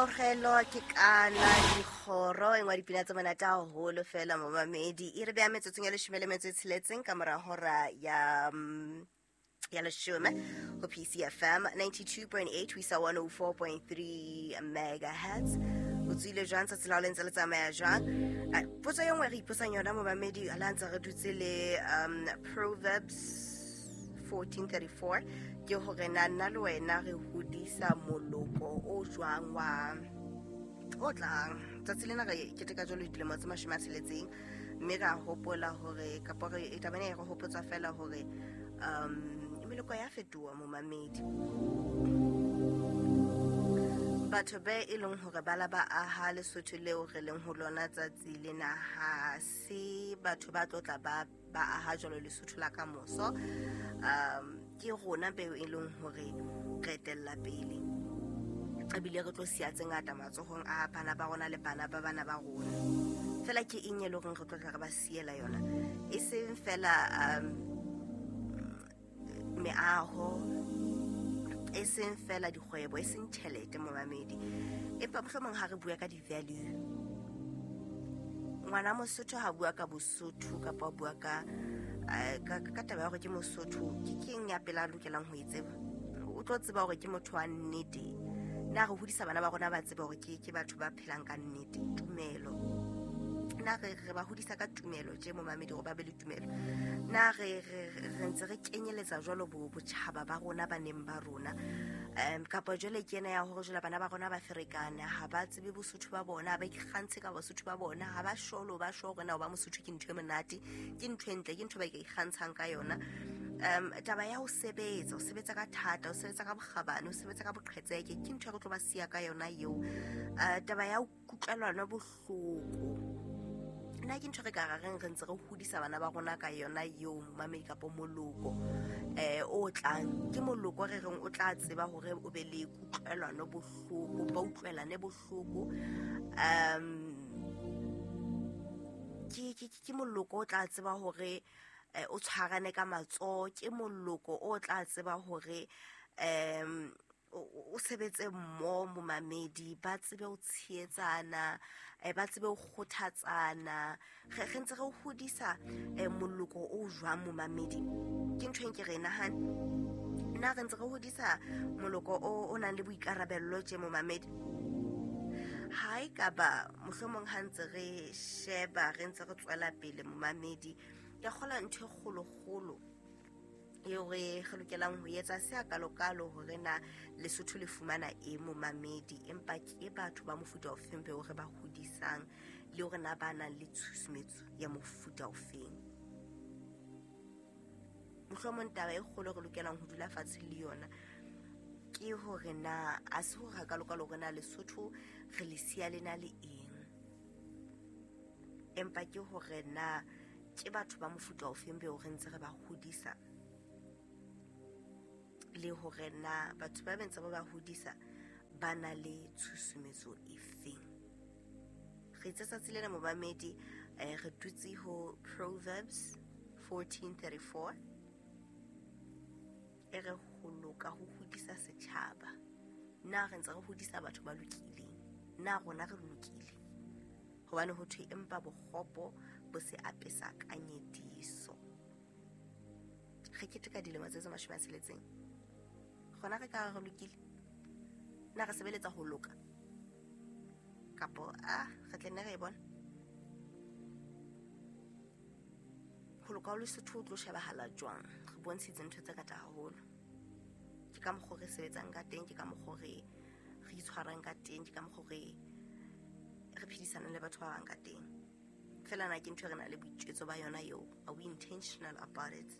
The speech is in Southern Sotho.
Kamogelo ke kana dikgoro e nngwe ya dipina tse monate haholo fela momamedi. E re beha metsotsong ya 16 ka mora hora ya ya leshome ho PCFM 92.8 ho isa 104.3 megahertz. O tswile jwang tsatsi la hao le ntse le tsamaya jwang? Potso e nngwe re ipotsang yona momamedi la ntse re dutse le Proverbs 14:34 ke hore na nna le wena re hodisa moloko o jwang wa o tlang. Tsatsi lena re keteka jwalo dilemo tse 60, mme ra hopola hore kapa re taba ena e re hopotsa fela hore meloko ya fetoha momamedi. Batho be e leng hore ba la ba aha Lesotho leo re leng ho lona tsatsi lena, ha se batho ba tlo tla ba aha jwalo Lesotho la kamoso. Ke rona beo e leng hore re etella pele, ebile re tlo siya tse ngata matsohong a bana ba rona le bana ba bana ba rona. Fela ke eng e leng hore re tlo tla re ba siela yona? E seng fela meaho, e seng fela dikgwebo, e seng tjhelete momamedi, empa mohlomong ha re bua ka di-value. Ngwana Mosotho ha bua ka Bosotho kapa a bua ka ka taba ya hore ke Mosotho, ke keng ya pele a lokelang ho e tseba? O tlo tseba hore ke motho wa nnete. Na re hodisa bana ba rona ba tseba hore ke batho ba phelang ka nnete? Tumelo, na re ba hodisa ka tumelo tje momamedi, hore ba be le tumelo? Na re ntse re kenyeletsa jwalo botjhaba ba rona, baneng ba rona? Kapa jwale ke ena ya hore jwale bana ba rona ba ferekane, ha ba tsebe Bosotho ba bona, ha ba ikgantshe ka Bosotho ba bona, ha ba sholo ba sho hore na ho ba Mosotho ke ntho e monate, ke ntho e ntle, ke ntho ba ka ikgantshang ka yona. Taba ya ho sebetsa, ho sebetsa ka thata, ho sebetsa ka bokgabane, ho sebetsa ka boqhetseke, ke ntho e re tlo ba siya ka yona eo. Taba ya ho kutlwelana bohloko, nna ke ntho re ka reng re ntse re hodisa bana ba rona ka yona eo momamedi, kapa moloko o tlang. Ke moloko re reng o tla tseba hore o be le kutlwelano bohloko, ba utlwelane bohloko. Ke moloko o tla tseba hore o tshwarane ka matsoho, ke moloko o tla tseba hore o sebetse mmoho momamedi, ba tsebe ho tshehetsana, ba tsebe ho kgothatsana. Re ntse re hodisa moloko o jwang momamedi? Ke ntho e nke re e nahane. Na re ntse re hodisa moloko o nang le boikarabello tje momamedi? Ha e ka ba mohlomong ha ntse re sheba, re ntse re tswela pele momamedi, ke kgola ntho e kgolokgolo eo re lokelang ho etsa se a kalokalo hore na Lesotho le fumana e momamedi, empa ke batho ba mofuta ofeng beo re ba hodisang, le hore na ba nang le tshusumetso ya mofuta ofeng. Mohlomong taba e kgolo re lokelang ho dula fatshe le yona ke hore na a se hore hakalokalo hore na Lesotho re le siya le na le eng, empa ke hore na ke batho ba mofuta ofeng beo re ntse re ba hodisa, le hore na batho ba ntse ba ba hodisa ba na le tshusumetso efeng. Re itse tsatsi lena momamedi, re dutse ho Proverbs 14:34 e re ho loka ho hodisa setjhaba. Na re ntse re hodisa batho ba lokileng? Na rona re lokile? Hobane ho thwe empa bokgopo bo se apesa ka nyediso. Re keteka dilemo tse 60. Rona re ka re lokile? Na re sebeletsa ho loka? Kapo re tle nne re e bona? Ho loka ho Lesotho ho tlo shebahala jwang? Re bontshitse ntho tse ngata haholo. Ke ka mokgwa re sebetsang ka teng, ke ka mokgwa re itshwarang ka teng, ke ka mokgwa re phedisanang le batho ba bang ka teng. Fela na ke ntho e re nang le boitjwetso ba yona eo? Are we intentional about it?